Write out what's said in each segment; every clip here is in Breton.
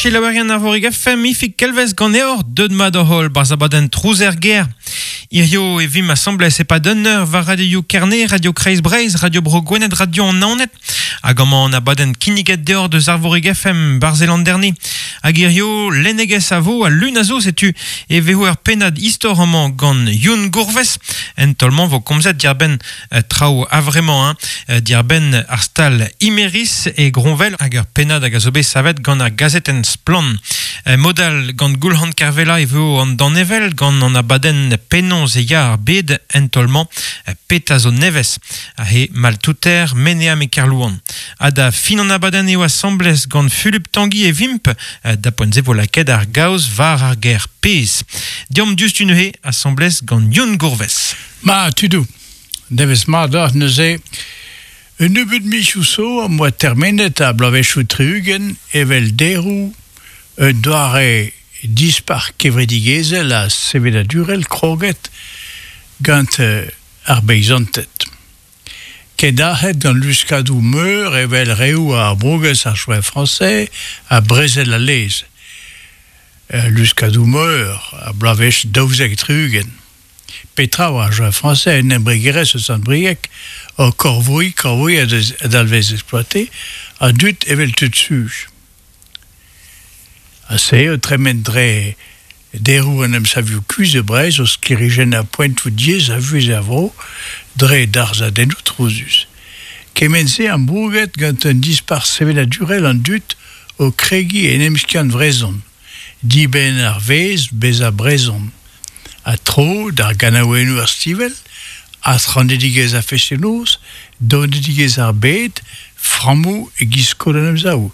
selaouerien Arvorig FM, Ifig Kelvez ganeoc'h, deut mat hoc'h holl barzh abadenn Trouz er gêr. Hirio e vimp asambles e-pad un eur war Radio Kerne, Radio Kreiz Breizh, Radio Bro Gwened, Radio an Naoned. Hag amañ an abadenn kinniget deoc'h deus Arvorig FM, barzh Landerne. Hag hirio lennegezh a vo ha lun a zo, setu e vezo ur pennad istor amañ gant Youn Gourves. En taol-mañ vo komzet diàr-benn traoù a-vremañ, hein, diàr-benn ar stal Imerys e Groñvel hag ur pennad hag a zo bet savet gant ar gazetenn Splann. Mod-all gant Goulc'han Kervella e vo an danevell gant an abadenn Penaos e ya ar bed en taol-mañ petra zo nevez he maltouter Meneam e Kerlouan. Ha da fin an abadenn eo asambles gant Fulup Tanguy e vimp da poent-se vo lakaet ar gaoz war ar ger pezh. Deomp diouzhtu neuze asambles gant Youn Gourves. Ma, tudoù, Devezh mat deoc'h neuze. Un nebeud mizioù zo am boa termenet ar bloavezhioù tri-ugent evel deroù un doare dispac'h kevredigezhel ha sevenadurel kroget gant ar beizanted. Kendalc'het gant luskadoù meur evel reoù ar Brogez ar Joint Français ha Brezel al Lez. Luskadoù meur ar bloavezh 12 70. Petra oa ar Joint Français un embregerezh eus Sant-Brieg o korvoiñ korvoiñ a dalvez exploiter an dud evel tud suj. Ha se o tremen dre deroù an emsavioù kuzh e Breizh o sklêrijennañ poentoù diaes a vuhez er vro dre darzhadennoù trouzus. Kement-se ambrouget gant un dispac'h sevenadurel an dud o kregiñ en emskiant vrezhon. Dibenn ar vezh bezañ brezhon ha tro d'ar ganaouennoù ar stivell, adc'hanedigezh ar fest-noz, donedigezh ar bed, frammoù e-giz skol an Emsav.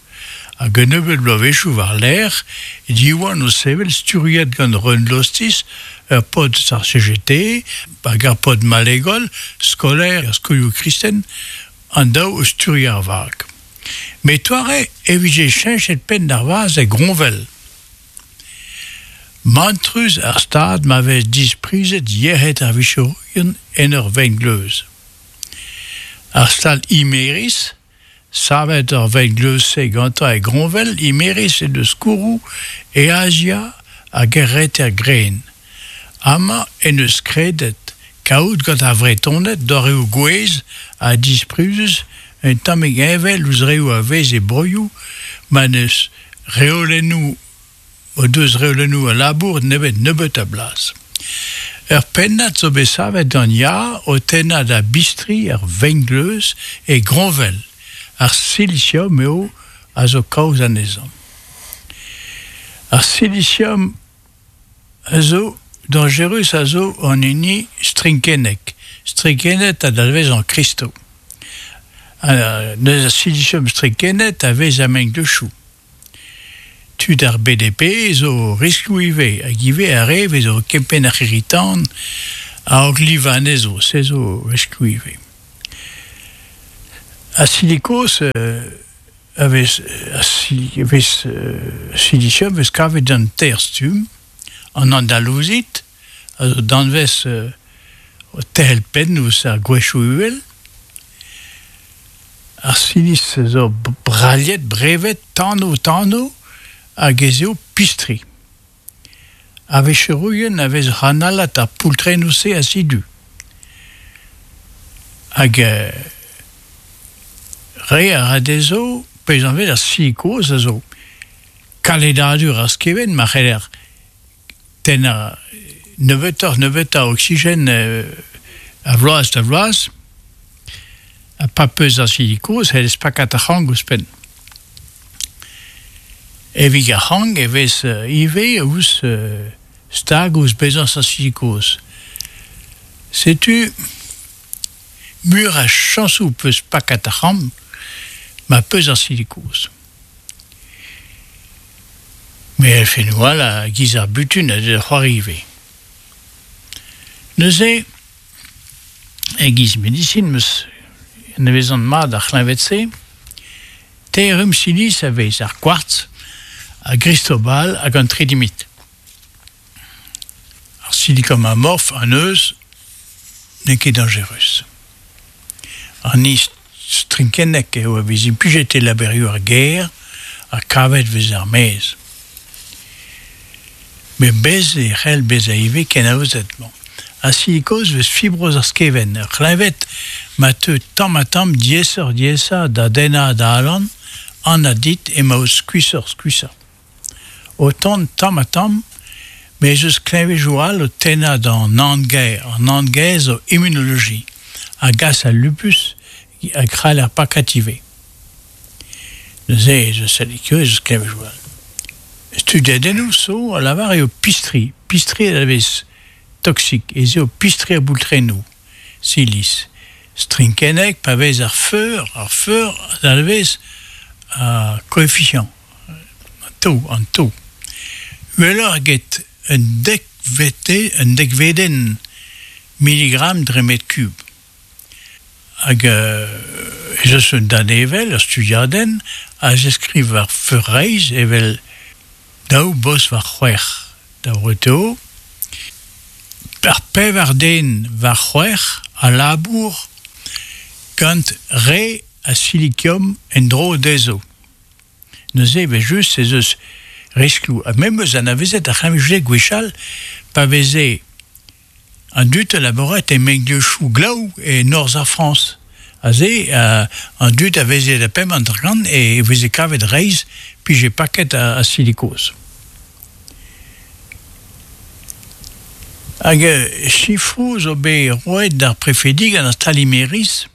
Hag un nebeud bloavezhioù war-lerc'h Diwan o sevel sturiet gant Reun Lostis, ur paotr eus ar CGT hag ar paotr Malegol, skolaer er skolioù kristen, an daou o sturiañ ar vag. Met toare e vije cheñchet penn d'ar vazh e Groñvel. Mantrus ar stad ma vez disprizet yec'hed ar vicherourien en ur vengleuz. Ar stal Imerys, savet ar vengleuz-se gantañ e Groñvel, Imerys he deus skourroù e Azia hag er Reter-Gren. Amañ en deus kredet kaout gant ar Vretoned doareoù gouez ha disprizus un tammig heñvel ouzh reoù a vez e broioù ma n'eus reolennoù o deus reolennoù a labour nemet nebeut a blas. Ur pennad zo bet savet gant Ya o tennañ da bistri ar vengleuz e Groñvel. Ar silisiom eo a zo kaoz anezhañ. Ar silisiom a zo dañjerus a zo an hini strinkennek. Strinkennet a dalvez an kristo. Neuze ar silisiom strinkennet a vez a-mengleuzioù. Tud ar BDP zo riskloù ivez hag ivez ar re vez o kempenn ar c'hirri-tan a-raok livañ anezho, se zo riskloù ivez. Ar silikoz a vez a vez silisium vez kavet gant teir stumm, an andalouzit a zo danvez o terc'hel penn ouzh ar gwezhioù uhel, ar silis zo braliet, brevet, tanv-tanv hag ez eo pistri. Ar vicherourien a vez oc'h analat ar poultrennoù-se a-sidu. Hag re a ra dezho pezh anvet ar sili kozh a zo kaledadur ar skevent ma c'heller tennañ nebeutoc'h-nebeutañ oksigen a vloaz da vloaz ha pa peus ar sili kozh c'hellez pakat ar c'hrank ouzhpenn. Evit ar c'hrank e vez ivez ouzh stag ouzh bezañs ar sili kozh. Setu meur a chañsoù 'peus pakat ar c'hrank ma peus ar sili kozh. Met elfennoù all a giz ar butun a deu da c'hoari ivez. Neuze e-giz medisin 'm eus anavezan mat ar c'hleñved-se. Teir rumm silis a vez, ar kwartz, ar gristobal hag an tridimit. Ar silikom amorf an eus n'eo ket dañjerus. An strinkennek eo a vez implijet e labourioù ar gêr ha kavet e vez er-maez. Met bez' e c'hell bezañ ivez kenaozet. Bon. Ar silikoz 'vez fibroz ar skevent, ur c'hleñved ma teu tamm-ha-tamm diaesoc'h-diaesañ da dennañ da alan, anat dit emaout skuishoc'h-skuishañ. O tont tamm-ha-tamm, met ez eus kleñvedoù all o tennañ d'an nann-gaer. An nann-gaer zo immunoloji a gas al lupus hag c'haller pakat ivez. Neuze ez eus ez eus kleñvedoù all. Studiadennoù zo a lavar eo pistri, pistri a vez toksik, ez eo pistri ar boultrennoù, silis. Strinkennek pa vez ar feur, ar feur a dalvez a koefisiant, an to, an to. Uheloc'h eget un dekvete, un dekvedenn miligram dre metr kub. Hag ez eus un danevell, ur studiadenn, a zeskriv ar feur-reizh evel daou bos war c'hwec'h da vreutañ. Ar pevar den war c'hwec'h a labour gant re a silikiom en-dro dezho. Neuze evel-just ez eus riskloù. Ha me 'm eus anavezet ar c'hleñved gwechall pa veze An dud a labourat e mengleuzioù glaou e norzh ar Frañs. Aze, an dud a veze da pemp hanter-kant e veze kavet reizh pije paket a silikoz. Hag sifroù zo bet roet d'ar prefedi gant ar Stalimeris.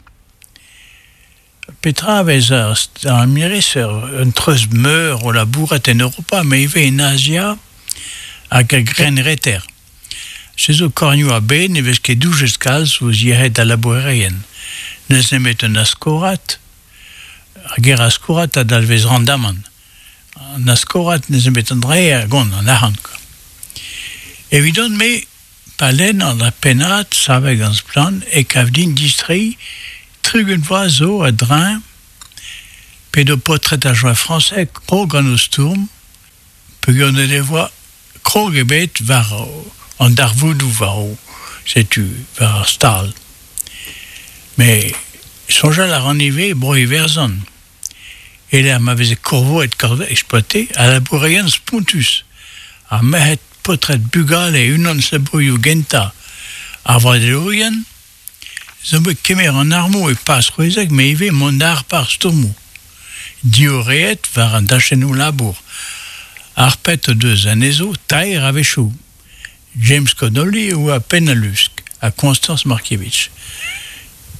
Petra a vez ar Stalimeris? Un treuz meur o labourat en Europa, met ivez en Azia hag er Grenn-Reter. Se zo kornioù a-bed ne vez ket doujet kalz ouzh yec'hed al labourerien. N'eus nemet un askorad. Ar ger askorad a dalvez randamant. An askorad n'eus nemet an dra a gont, an arc'hant. Quoi. Evidon-me, pa lennan ar pennad savet gant Splann e kav din distreiñ 30 vloaz zo a-dreñv p'edo paotred ar Joie Français krog gant o stourm peogwir n'o devoa krog ebet war an darvoudoù war o setu war ar stal. Met soñjal a ran ivez e Bro-Iwerzhon e-lec'h ma veze korvoet exploité al labourerien spontus ar merc'hed paotred bugale unan eus labourioù gentañ ar vroadelourien zo bet kemer an armoù e paz c'hwezek met ivez mont àr ar stourmoù diorreet war an dachennoù labour. Harpet o deus anezho taer a-wechoù. James Connolly e oa penn al lusk ha Constance Markievicz.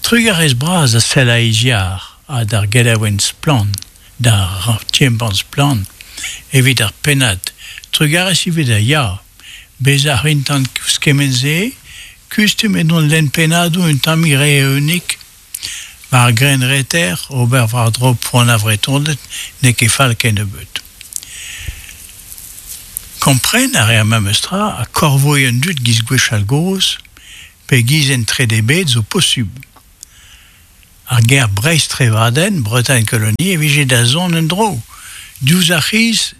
Trugarez bras da Selaïziar ha d'ar gelaouenn Splann, d'ar ti-embann Splann evit ar pennad. Trugarez ivez da Ya! Bezañ a rin ouzh kement-se, kustum edon lenn pennadoù un tammig re eeunik. War grenn-reter, ober war-dro poan ar Vretoned n'eo ket fall kennebeut. Kompren a reer memes tra ha korvoiñ an dud giz gwechall-gozh pe giz en trede bed zo posubl. Ar ger Breizh-Trevadenn, Bretagne Colonie, e vije da zont en-dro. Diouzh ar c'hiz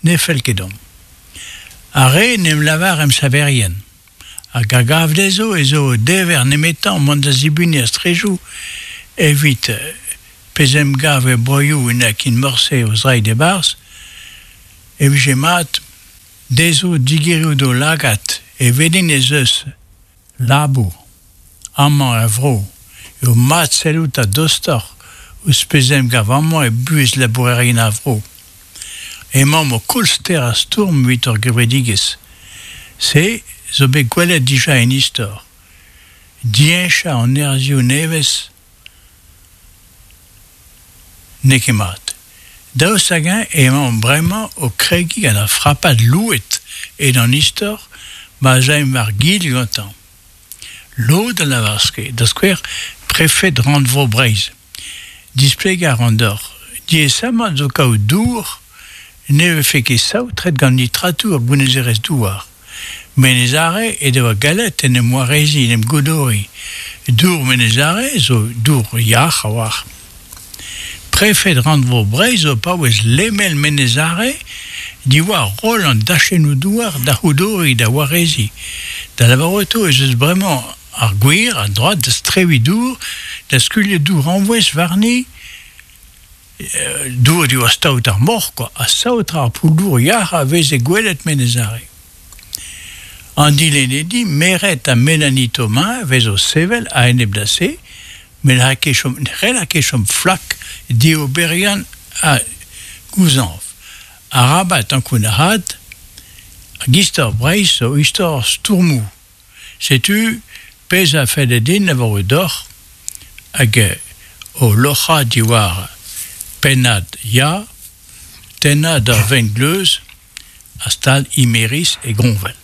ne fell ket deomp. Ar re en em lavar emsaverien hag a gav dezho ez eo o dever nemetañ mont da zibuniñ ar strejoù evit pezh emgav er broioù n'a ket morse o zreid e-barzh, e vije mat dezho digeriñ d'o lagad e welint ez eus labour amañ er vro eo mat sellout a-dostoc'h ouzh pezh emgav amañ e buhez labourerien ar vro. Emaomp o koll ster ar stourm evit hor gevredigezh. Se zo bet gwelet dija en istor. Diheñchañ an nerzhioù nevez n'eo ket mat. Daoust hag-eñ emaomp bremañ o kregiñ gant ar frapad louet ed an istor ma'z aimp war-gil gantañ? Lod a lavar da skouer prefed Rannvro Breizh. Displegañ a ran deoc'h, diaesamant zo kaout dour ne vefe ket saotret gant nitratoù ar gounezerezh-douar. Menez-Are he devoa gallet en em wareziñ, en em godoriñ. Dour Menez-Are zo dour yac'h a-walc'h. Prefed Rannvro Breizh zo paouez lemel Menez-Are diwar roll an dachennoù-douar da c'houdoriñ, da wareziñ. Da lavarout eo ez eus bremañ ar gwir, an droad da strewiñ dour, da skuilhañ dour añvouez warni, dour diwar staot ar moc'h kwa, ha saotrañ ar poull-dour yac'h a veze gwelet Menez-Are. An dilennidi, Meret ha Mélanie Thomas vez o sevel a-enep da se, met n'hall ket chom, n'hell ket chom flak dioberiant ha gouzañv. Arabat ankounac'haat hag istor Breizh zo istor stourmoù. Setu pezh a felle din lavarout deoc'h hag o loc'hañ diwar pennad Ya, tennañ d'ur vengleuz a stal Imerys e Groñvel.